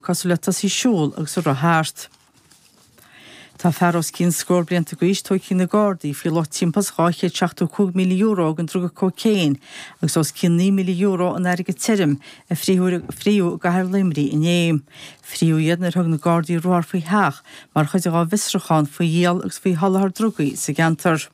Cosúil le tosaí ag siúl agus ag rith thart. Tá fear os cionn scór blianta d'aois tógtha ag na Gardaí faoi lucht timpeall is €275,000 den druga cócaon agus os cionn €9,000 in airgead tirim a frítheadh i gcathair Luimnigh inné. Frítheadh iad nuair a thug na Gardaí ruathar faoi theach mar chuid dhá bhfiosrúchán faoi dhíol agus faoi sholáthar drugaí sa gceantar.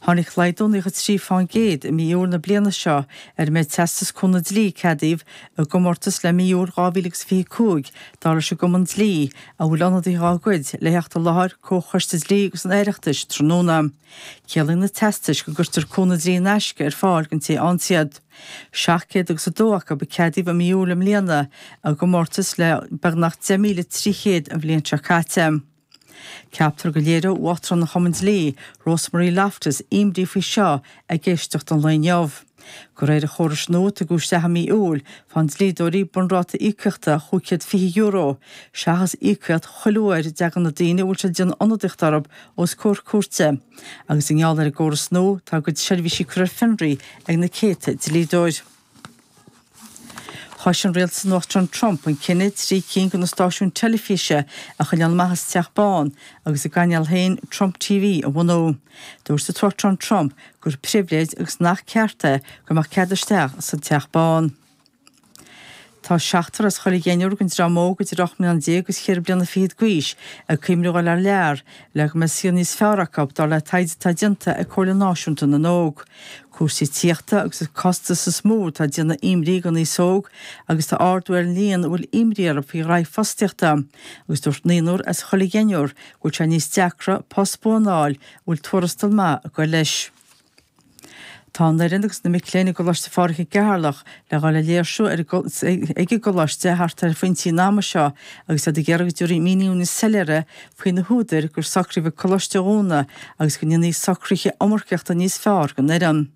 Tháinig laghdú 93% i mí Iúil na bliana seo ar an méid teastas cúnamh dlí a ceadaíodh i gcomórtas le mí Iúil 2025, dar leis an gCumann Dlí, a bhfuil ionadaithe dá gcuid le theacht i láthair Comhchoiste Dlí agus an Oireachtais tráthnóna. Ciallaíonn na teastais go gcuirtear cúnamh dlí in aisce ar fáil don té a fhaigheanns iad. 700 agus 2 acu a ceadaíodh i mí Iúil i mbliana, i gcomórtas le beagnach 10,300 an bhliain seo caite. Ceaptar go léireoidh Uachtarán an Chumainn Dlí, Rosemarie Loftus, imní faoi seo ag éisteacht an lae inniu. De réir an chórais nua a tugadh isteach i mí Iúil, faigheann dlíodóirí bunráta íocaíochta €520, seachas íocaíocht chuile uair a dtagann na daoine a bhfuil siad ag déanamh ionadaíocht orthu os comhair cúirte. Agus i ngeall ar an gcóras nua, tá a gcuid seirbhísí curtha ar fionraí ag na céadta dlíodóir. Chois an rialtas an Uachtaráin Trump an cinneadh 3 cinn de na stáisiúin teilifíse a choinneáil amach as Teach Bán agus a gcainéal féin Trump TV a bhunú. Dúirt an tUachtarán Trump gur pribhléid agus nach ceart é go mbeadh cead isteach sa Teach Bán. Tá seachtar as chuile dheichniúr den dream óg idir 18 mbliana agus cheithre bliana fichead d'aois ag cuimhneamh a dhul thar lear le go mbeidh saol níos fearr acu, dar le taighde atá déanta ag Comhairle Náisiúnta na nÓg. Cúrsaí tithíochta agus an costas is mó atá ag déanamh imní don aos óg agus tá ardú ar an líon a bhfuil imní orthu faoi ghraithí fostaíochta agus dúirt naonúr as chuile dheichniúr go bhfuil sé níos deacra post buan a fháil a bhfuil tuarastal maith ag goil leis. Tá an fhoireann agus na mic léinn i gColáiste Phádraig i gCeatharlach le dhul ar léirsiú ag an gcoláiste thart ar phointí an ama seo agus iad ag iarraidh go dtabharfaí míniú níos soiléire faoi na húdair gur socraíodh an coláiste a dhúnadh agus go ndéanfaí socruithe iomarcaíochta níos fearr don fhoireann.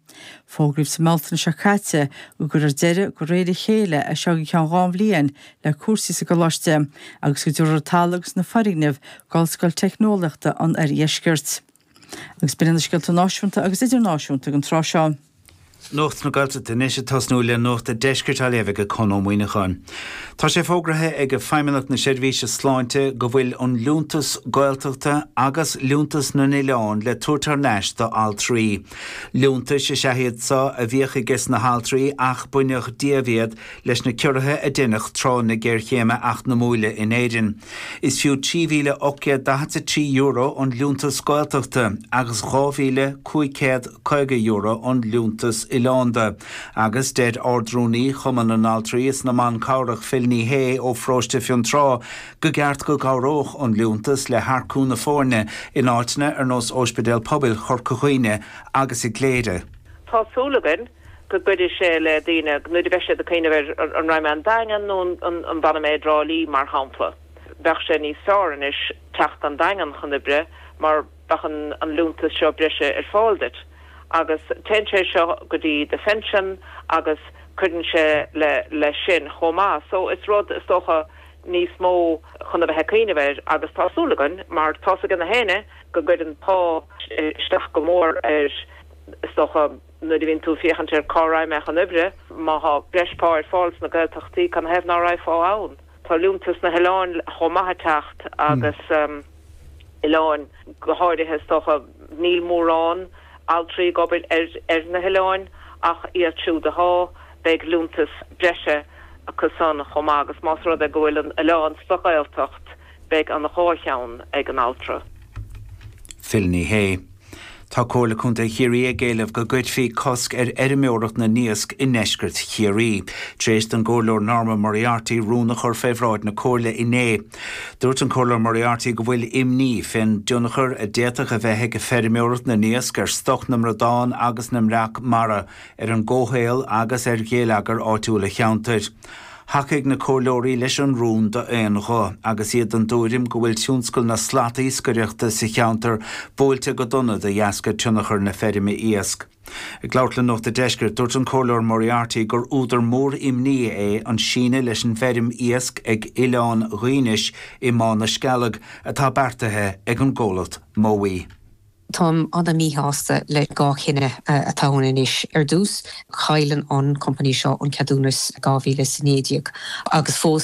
Fógraíodh sa mBealtaine seo caite go gcuirfear deireadh de réir a chéile as seo go ceann 2 bhliain le cúrsaí sa gcoláiste agus go dtabharfar an talamh agus na foirgnimh d'Ollscoil Teicneolaíochta an Oirdheiscirt. Agus b'in iad na scéalta náisiúnta agus idirnáisiúnta ag an tráth seo. Nuacht na Gaeltachta anois ag tosnú le Nuacht a' Deiscirt á léamh ag Conn Ó Muíneacháin. Tá sé fógraithe ag Feidhmeannacht na Seirbhíse Sláinte go bhfuil an Liúntas Gaeltachta agus Liúntas na nOileán le tabhairt thar n-ais do altraí. Liúntais is ea iad so a bhíodh ages na haltraí ach baineadh díobh iad leis na ciorruithe a deineadh tráth na géarchéime eacnamúile in Éirinn. Is fiú €3,843 an Liúntas Gaeltachta agus €2,550 an Liúntas Oileánda agus deir Ard-Rúnaí Chumann na nAltraí is na mBan Cabhrach Phil Ní Sheaghdha ó Pharóiste Fionntrá go gceart go gcabhródh an liúntas le hearcú na foirne in áiteanna ar nós Óispidéal Pobail Chorca Dhuibhne agus i gCléire. Tá súil againn go gcuirfidh sé le daoine nuair a bheidh siad ag cuimhneamh ar an raghaidh mé an Daingean nó an bhfanfaidh mé i dTrá Lí mar shampla. Bheadh sé níos fearr anois teacht an Daingean chun oibre mar bheadh an liúntas seo breise ar fáil duit agus téann sé seo go dtí do phension agus cuireann sé leis sin chomh maith. So is rud is dócha níos mó chun a bheith ag cuimhneamh air agus tá súil againn mar tá's ag na héinne go gcuireann pá isteach go mór ar is dócha nuair a bhíonn tú ag féachaint ar cá raghaidh mé chun oibre, má thá breis pá ar fáil sna Gaeltachtaí canathaobh ná raghfá ann? Tá liúntas na hoileáin chomh maith ag teacht agus oileáin go háirithe is dócha níl mórán altraí ag obair ar na hoileáin ach iad siúd athá, beidh liúntas breise acu san chomh maith agus más rud é go bhfuil an oileán sa Ghaeltacht beidh an dhá cheann ag an altra. Phil Ní Sheaghdha. Tá Comhairle Contae Chiarraí ag éileamh go gcuirfí cosc ar fheirmeoireacht na n-iasc i ndeisceart Chiarraí, tar éis don gComhairleoir Norma Moriarty rún a chur fé bhráid na Comhairle inné. Dúirt an Comhairleoir Moriarty go bhfuil imní fén dtionchar a d'fhéadfadh a bheith ag feirmeoireacht na n-iasc ar stoc na mbradán agus na mbreac mara, ar an gcomhshaol agus ar ghéilleagar áitiúil an cheantair. Thacaigh na comhairleoirí leis an rún d'aon ghuth agus iad den dtuairim go bhfuil tionscal na slatiascaireachta sa cheantar buailte go dona de dheasca tionchar na feirme iasc. Ag labhairt le Nuacht a' Deiscirt, dúirt an Comhairleoir Moriarty gur údar mór imní é an síneadh leis an bhfeirm iasc ag Oileán Dhuínis i mBá na Scealg atá beartaithe ag an gcomhlacht Mowi. Táim ana-mhíshásta le 2 chinneadh atá ann anois. Ar dtús, chailleann an company seo an ceadúnas 2019 agus fós.